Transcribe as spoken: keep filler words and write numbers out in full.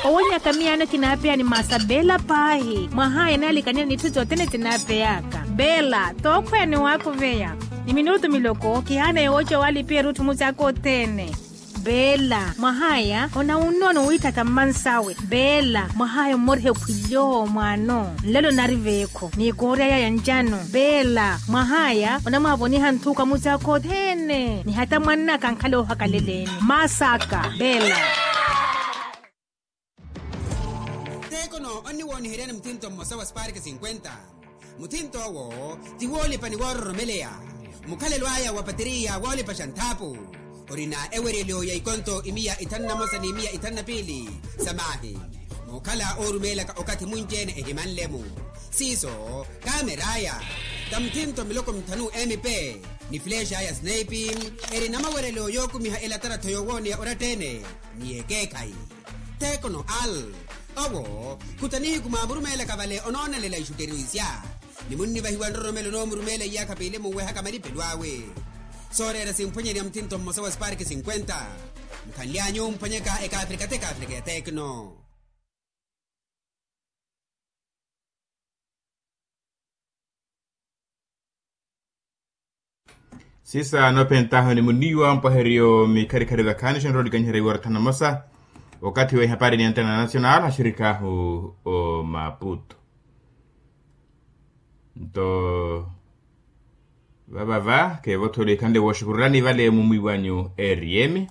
Owenyaka miyaano kinaapeya ni masa beela paahi mwahaya naalikanela n'itthu sothene sinaapeyaka. Beela tookhweya ni waakuveya ni minutu miloko kihaana yooca waalipiya erutthu musaaka othene. Beela mwahaya onawunnono wiitthata mmansawe. Beela mwahaya ommoriha ekhwilyo mwaano nlelo nari veekho ni koorya yaya ncano. Beela mwahaya onamwaavoniha nthuka musaaka othene ni hata mwannaka ankhala oohakaleleeni masaka. Beela. Tekono onniwooniheryani muthinto mmosa wa spark cinquenta. Muthinto owo ti woolipa ni woororomeleya. Mukhalelo aya wa pateriya woolipaxa nthaapu orina eweryelo ya ikonto imiya ithanu na mosa ni imiya ithanu na piili. Samaahi muukhala oorumeelaka okathi munci-ene ehimanle-mu. Siiso kameraya ta muthinto miloko mithanu mp ni flexa ya snaipi. Erina maweryelo yookumiha elatarattho yoowooneya oratta-ene ni ekeekhayi. Tekono al owo khuta nihiku mwaamurumeelaka vale onoonelela ixutteriwisya ni munnivahiwa nroromelo onoomurumeela iyaakha piili munwehaka malipelo awe. Sooreera simphwanyani ya muthinto mmosa wa spark cinquenta. Mukhanly'anyu omphwanyaka ekaafrika t'ekaafrika ya tekno. Sisa noophentahu ni muniiwa mpwaheryo mikharikhari vakhaani xonrowa olikaniherya iwara thanu na mosa. Okathi wa ihapari ni antena national axirikaahu omaputo. Nto vavava keevotholo ikhanle wooxukurulani vale mumwi wanyu eriyemi.